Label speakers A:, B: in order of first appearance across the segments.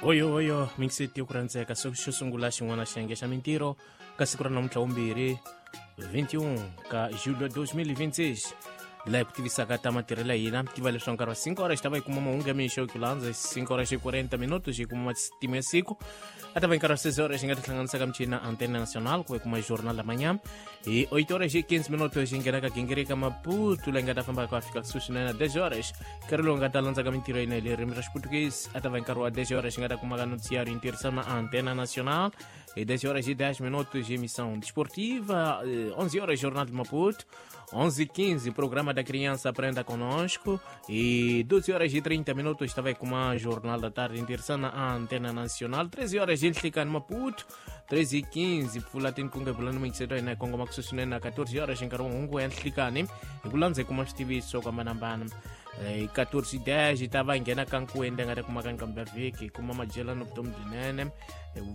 A: Oyo oyo mingiseti ku rhandzeka xo sungula xin'wana xiyenge xa mintirho ka siku ra namuntlha vumbirhi 21 ka julho 2026, laha hi ku tivisaka ta matirhelo ya hina. Tiva leswaku nkarhi wa 5 horas xi ta va yi kuma mahungu ya mixo, ku landza 5 horas xi 40 minuto xi kuma matimu ya siku. A ta va hi nkarhi wa 6 horas xi nga tihlanganisaka michini na Antena Nacional ku va yi kuma Jornal da Manhã. Hi 8 horas e 15 minutos xi nghena ka gingirika Maputo, leyi nga ta famba ka fika kusuhi swinene na 10 horas, nkarhi lowu nga ta landzaka mintirho ya hina hi le ririmi ra Xiputukezi. A ta va hi nkarhi wa 10 horas xi nga ta kumaka noticiário em tirhisana na Antena Nacional. E 10 horas e 10 minutos, emissão desportiva. 11 horas, Jornal de Maputo. 11h15, programa da Criança Aprenda Conosco. E 12 horas e 30 minutos, estava com uma Jornal da Tarde interessante na Antena Nacional. 13 horas, gente fica no Maputo. 13h15, pfula tinkunga bulani mingiseto ina kongoma kusuhi na 14 horas, nkarhi wa hungu ya nhlikani hi ku landza hi kuma switiviso ku hambanahambana. 14:10 yi ta va nghena ka nkuwende nga ta kumaka nkambi ya vhiki, hi kuma madyelano vutomi byinene,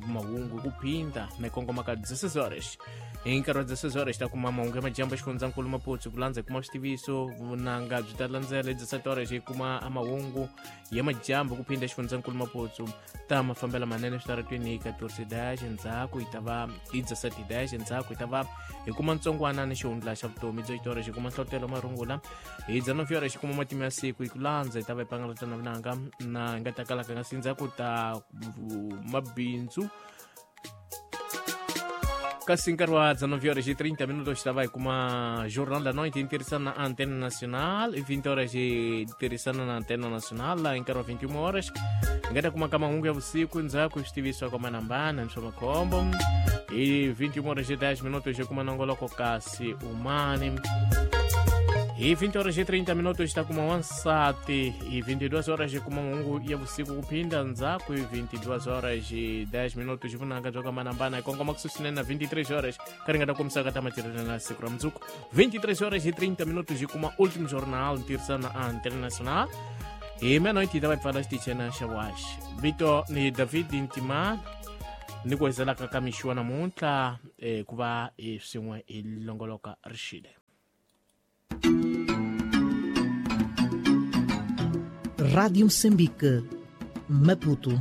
A: mahungu hi ku phinda na kongoma ka 16 horas. Hi nkarhi wa 16 horas ta kuma mahungu ya majambu xifundzankulu Maputo, ku landza hi kuma switiviso. Vunanga byi ta landzela hi 17 horas, hi kuma mahungu ya majambu ku phinda xifundzankulu Maputo ta mafambela manene switaratweni. Hi 14:10 endzhaku yi ta va hi 17:10 endzhaku yi ta va hi kuma ntsongwana ni xihundla xa vutomi byo xitori, xi kuma nhlotelo marungula. Hi 19 horas xi kuma matimu ya siku, hi ku landza hi ta va hi pangalata na vunanga na hi nga ta kalaka nga sindzhaku ta mabindzu. Kasi nkarhi wa 19 horas e 30 minutos xi ta va hi kuma Jornal da Noite em tirhisana na Antena Nacional, e 20 horas hi tirhisana na Antena Nacional. Laha hi nkarhi wa 21 horas hi nga ta kuma ka mahungu ya vusiku, ndzhaku swi tivisiwa ku hambanahambana ni swa makhombo. Hi 21 horas e 10 minutos hi kuma nongoloko kasi umani. Hi 20 horas e 30 minutos ta kuma wansati. Hi 22 horas hi kuma mahungu ya vusiku ku phinda ndzhaku. Hi 22 horas e 10 minutos vunanga byo hambanahambana, hi kongoma kusuhi swinene na 23 horas, ka ri nga ta kombisaka ta matirhelo na siku ra mundzuku. 23 horas e 30 minutos hi kuma último jornal ntirhisano na Antena Nacional. Hi meia-noite yi ta va yi pfala xitichena xa waxi. Vito ni David Ntimana, ni ku hezelaka ka mixo wa namuntlha, ku va hi swin'we hi longoloka rixile.
B: Rádio Moçambique, Maputo.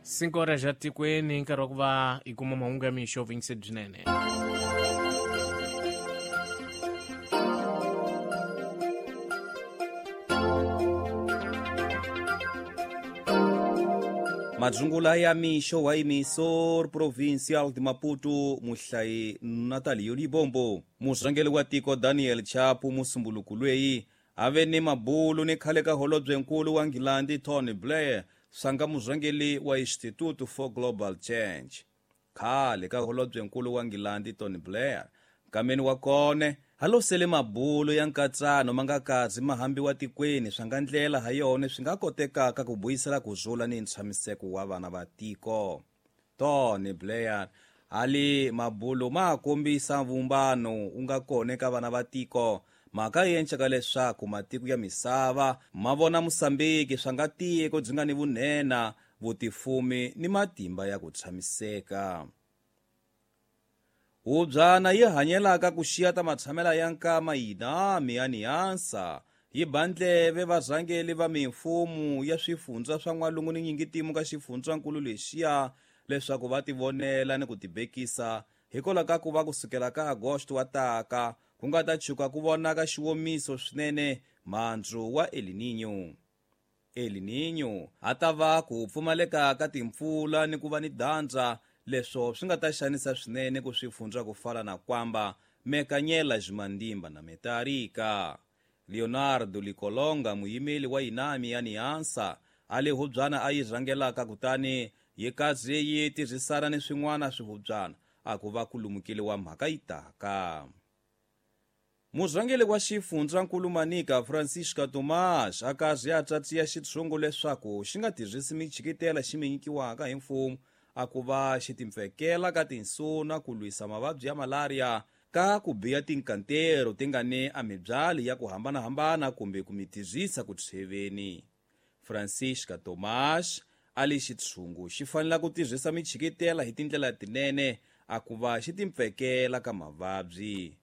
A: 5 horas ja tikweni, nkarhi wa ku va hi kuma mahungu ya mixo vingise byinene.
C: Madzungula ya mixo wa emissor provincial de Maputo, muhlayi Natalio Libombo. Murhangeri wa tiko Daniel Chapo musumbuluku lweyi a ve ni mabulu ni khale ka holobyenkulu wa Nghilandi Tony Blair swanga murhangeri wa Institute for Global Change. Khale ka holobyenkulu wa Nghilandi Tony Blair nkameni wa kone a losele mabulu ya nkatsano ma nga kazi ma hambiwa tikweni swa nga ndlela ha yona swi nga kotekaka ku vuyisela ku rhula ni ntshamiseko wa vana va tiko. Tony Blair ali mabulu ma kombisa vumbano wu nga kona eka vana va tiko, mhaka yi enceka leswaku matiko ya misava ma vona Mosambiki swa nga tiko byi nga ni vunhena, vutifumi ni matimba ya ku tshamiseka. Hubyana yi hanyelaka ku xiya ta matshamela ya nkama yinami ya niyansa yi ba ndleve varhangeli va mimfumo ya swifundza swa n'walungu ni nyingitimu ka xifundzankulu lexiya leswaku va tivonela ni ku tibekisa hikwalaho ka ku va kusukela ka Agosto wa taka ku nga ta chuka ku vonaka xiwomiso swinene mhandzu wa El Niño. El Niño a ta va ku pfumaleka ka timpfula ni ku va ni dyandza, leswo swi nga ta xanisa swinene ku swifundza ku fana na Kwamba, Mekanyela, Ximandimba na Metarika. Leonardo Likolonga, muyimeli wa Inami ya Niansa, a le hubyana a yi rhangelaka kutani yi kaze yi tirhisana ni swin'wana swihubyana a ku va ku lumukile wa mhaka yi taka. Murhangeri wa xifundzankulu Manica Francisca Tomás a kaze a tsatsiya xitshungu leswaku xi nga tirhisi michikitela xi mi nyikiwaka hi mfumo a ku va xi timpfekela ka tinsuna ku lwisa mavabyi ya malaria ka ku biya tinkantero ti nga ni a mibyali ya ku hambanahambana kumbe ku mi tirhisa ku tsheveni. Francisca Tomás a li xitshungu xi fanela ku tirhisa michikitela hi tindlela tinene a ku va xi timpfekela ka mavabyi.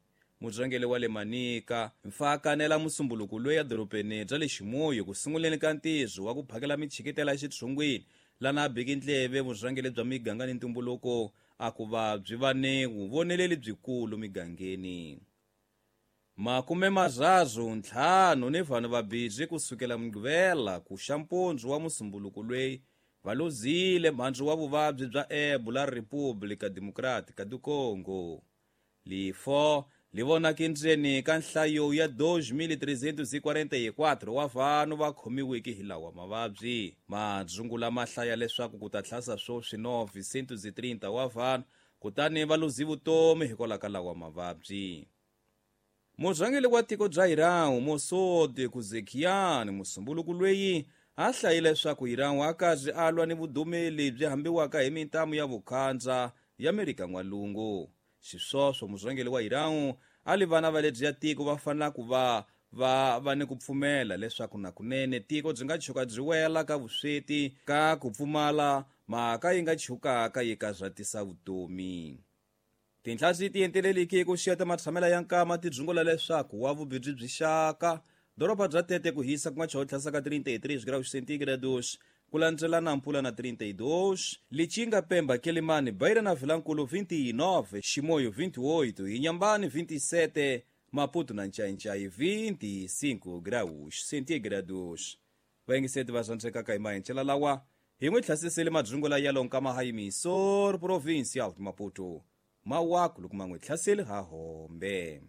C: Murhangeri wa le Manica mfa kanela musumbuluku loyi edorobeni bya le Chimoio ku sunguleni ka ntirho wa ku phakela michikitela exitshungwini lana a biki ndleve vurhangeri bya miganga ni ntumbuluko a ku va byi va ni vuvoneleli byikulu migangeni. 35 ni vanhu vabirhi kusukela Mugqivela ku xa mpundzu wa musumbuluku loyi va luzile mbhandzu wa vuvabyi bya Ebola República Democrática do Congo. Lifo li vonaka ndzeni ka nhlayo ya 2344 wa vanhu va khomiweke hi lawa mavabyi. Madzungula ma hlaya leswaku ku ta tlhasa swoswi 930 wa vanhu kutani va luzi vutomi hikwalaho ka lawa mavabyi. Murhangeri wa tiko bya Iran Masoud Pezeshkian musumbuluku loyi a hlayile leswaku Iran a karhi a lwa ni vudumeli byi hambiwaka hi mintamu ya vukhandza ya Amerika N'walungu. Xisweswo murhangeri wa Iran a li vana va lebyi ya tiko va fanela ku va va va ni ku pfumela leswaku nakunene tiko byi nga tshuka byi wela ka vusweti ka ku pfumala mhaka yi nga tshukaka yi karhatisa vutomi. Tinhla ti enteleliki ku xiyeta matshamela ya nkama ti dzungula leswaku wa vubirhi byi xaka doroba bya Tete ku hisa ku nga chaho tlhasa ka 33 graus centígrados ku landzelana mpfula na 32, Lichinga, Pemba, Quelimane, Beira na Vilankulu 29, Chimoio 28, Inhambane 27, Maputo na Nchai 25 graus centígrados. Vayingiseti va rhandzekaka hi mahencela lawa hi n'wi tlhasisele madzungula ya lonkama hayimisor provincial Maputo mawaku loko ma n'wi hlaseli ha hombe.